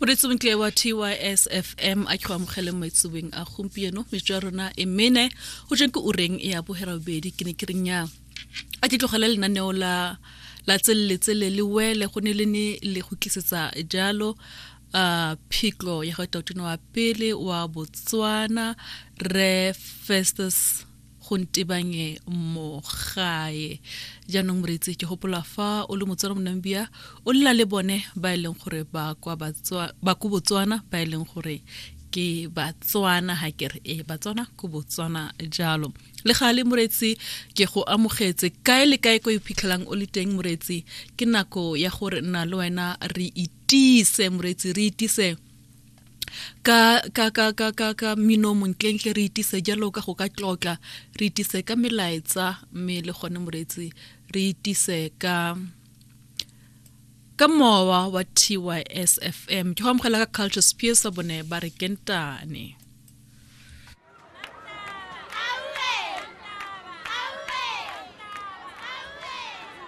Moreetsi montle wa TYSFM, a ke go amogele mo etseweng a gompieno. Metsotso ya rona e mene go jeng ke ureng ya boherabobedi. Ke ne ke reng ya a ke tlogele lenaneo la la tselele tsele le wele go ne le ne le go tlisetsa jalo phitlho ya go tautona wa pele wa Botswana, re Festus Gontebanye Mogae. Jaanong moreetsi, ke gopola fa o le Motswana mo Namibia, o lela le bone ba e leng gore ba kwa ba ko Botswana, ba e leng gore ke Batswana, ha ke re e Batswana ko Botswana jalo. Le gale moreetsi, ke go amogetse kae le kae ko iphitlhelang o le teng. Moreetsi, ke nako ya gore nna le wena re itise. Moreetsi, re itise ka ka ka ka ka ka mino montlentle, re itise jalo ka go ka tlotla, re itise ka melaetsa, mme le gone moreetsi re itise ka mowa wa TYSFM. Ke go amogela ka Culture Spears, bone ba re kentane.